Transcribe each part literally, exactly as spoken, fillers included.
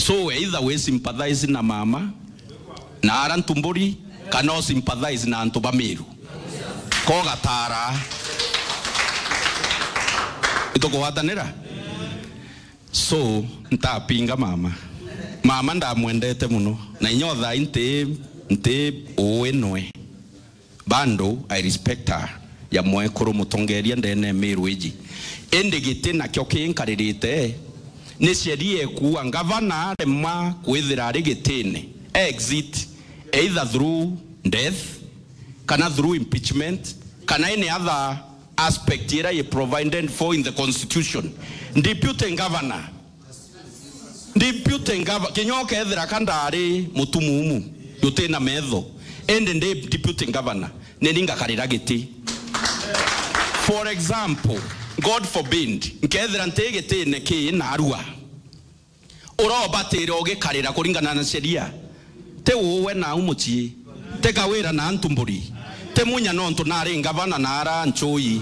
So either we sympathize na mama na ara Ntumburi, kana u sympathize na antu ba Meru. Ko gatara. Itukugwatanira? So, ntapinga mama. Mama ndamwendete muno. Na inya o thaa ii nti, nti uwi nwe. Bado I respect her ya mwekuru mutongeria ndene Meru iji. Indi giti nakio kinkaririte, ni sheria ikuua ngavana aremwa kwithira ari gitine, exit, either through death, kana through impeachment, kana any other aspect ira i provided for in the constitution. Deputy governor Deputy Gov-, kinya ukethira ka ndari mutumumu, jutina metho, indi ndi Deputy Governor, ni ni ngakarira giti. For example, God forbid, nkethira nti gitine kii narua, urobatire ugikarira kuringana na sheria. Ti uwe nau mucii, ti Kawira na Ntumburi, ti Munya nontu nari ngavana na ara Ncui,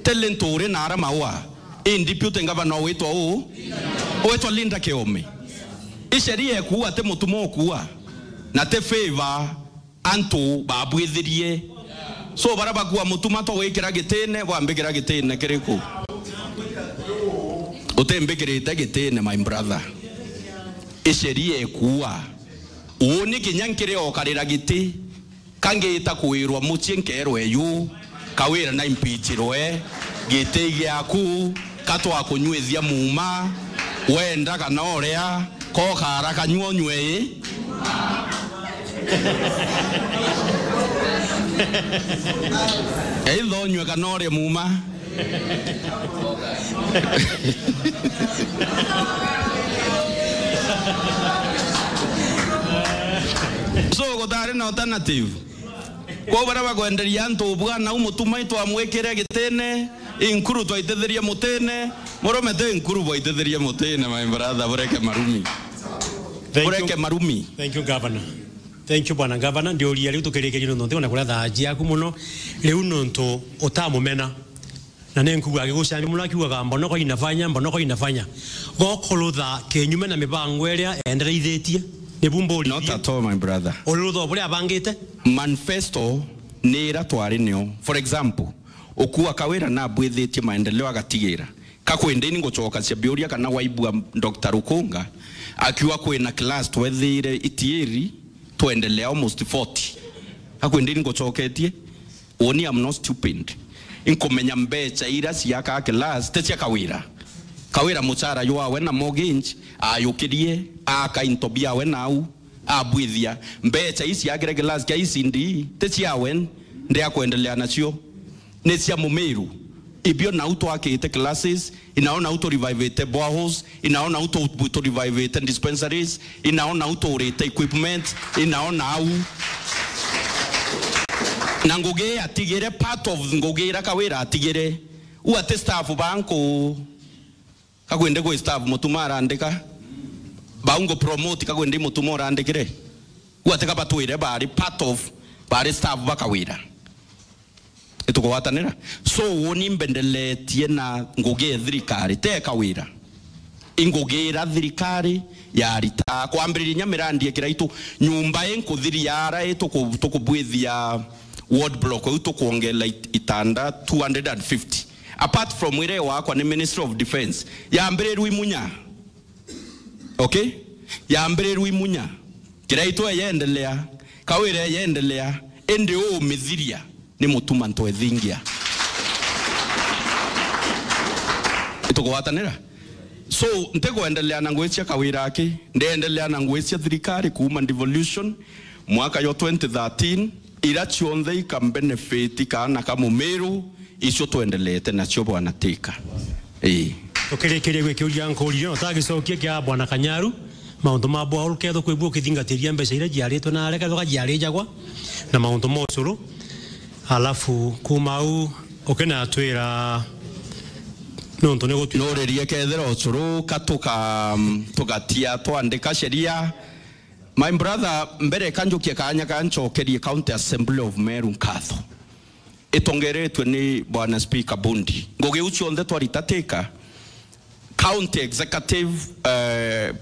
ti Linturi na ara Maua, i deputy governor witwa uu, witwa Linda Kiome. I sheria ikuua, ti Mutuma ukuua, na ti favor antu babwithirie. So, bara bakua Mutuma to gwikira gitine, bwambikira gitine kiriku? Utimbikirite gitine, my brother. I sheria ikuua. Uuni kinya nkiri okarira giti, ka ngita kwirwa mucii nkerwe yu, Kawira na impeachirwe, giti giaku, ka twakunywithia muuma, wenda kana uria, ka ukara kanyua unywe ii. Either unywe kana urie muuma. So, gutari na alternative. Kwou baria bakwenderia antu ubwana, u Mutuma itwamwikire gitine, inkuru twaitithirie mutine, murume ti inkuru bwaitithirie mutine, my brother, bureke marumi. Thank you. Bureke marumi. Thank you, Governor. Thank you, Bwana Governor. Ndiuria riu tukirikirie nontu ntikwona kuria thaa ciaku muno. Riu nontu utamumena. Na ni nkugu agigucambia muno akiugaga, "Mbona kwa inafanya, mbona kwa inafanya." Gokurutha kinyume na mibango iria endereithitie. Nibu mburirie. Not at all, my brother. Ururutha buria abangite? Manifesto ni ira twari nio. For example, ukua Kawira nabwithitie maendeleo agatigira. Ka kwindi ni ngucokacia biuria kana waibua Doctor Rukunga akiuga kwina class twethire itiiri twendelea almost forty. Ka kwindi ni ngucoketie. Uuni, I'm not stupid. Inkumenya mbecha ira ciaka class ti cia Kawira. Kawira muchara jwawe na mortgage ayukirie, aka into biawe nau, abwithia. Mbecha ii ciakire class kia E C D ti ciawe, ndi akwendelea nacio. Ni cia Mumiru. Ibio nau twakite classes, inao nau tu revivite boreholes, inao nau tu, tu revivite dispensaries, inao nau tuurite equipment, inao nau. Na ngugi atigire, part of ngugi ira Kawira atigire. U ati staff banku, ka kwindi kwi staff Mutuma arandika. Bau ngu promote ka kwindi Mutuma urandikire. U ati ka batwire bari part of, bari staff ba Kawira. Itukugwatanira. So, uuni mbendeletie na ngugi ya thirikari, ti Kawira. Ingugira thirikari ya rita. Kwambiriria inya mirandi ya Kiraitu, nyumba ii nkuthiria ara ii tuku-, tukubwithia ward block, iu tukwongela it-, itanda two hundred and fifty. Apart from ire wakwa ni Ministry of Defence. Yambirirwe i Munya. Okay? Yambirirwe i Munya. Kiraitu eyendelea, Kawira eyendelea, indi umithiria ni Mutuma Ntwethingia. Itukugwatanira? So, ntikwendelea na ngugi cia Kawira aki, ndiendelea na ngugi cia thirikari kuuma devolution mwaka yo twenty thirteen, ira cionthe ika benefit kaana ka Mumiru, icio twendeleete nacio, Bwana Teka. Ii. Tukirikiria gwikiuria nkuuria, no tagicokia kia Bwana Kanyaru, mauntu ma bwa uruketho kwi bu ukithingatiria mbeca iria ciaritwe na areka thoka ciarijagwa na mauntu ma ucuru. Alafu kuma au ukinatwira nontu ni gutwi- Nuririe kethira ucuru ka tuka-, tugatia twandika sheria. My brother, mbere ka njukie kaanya ka ncokerie County Assembly of Meru nkatho. Itongeretwe ni Bwana Speaker Bundi. Ngugi iu cionthe twarita Teka, County Executive, eh,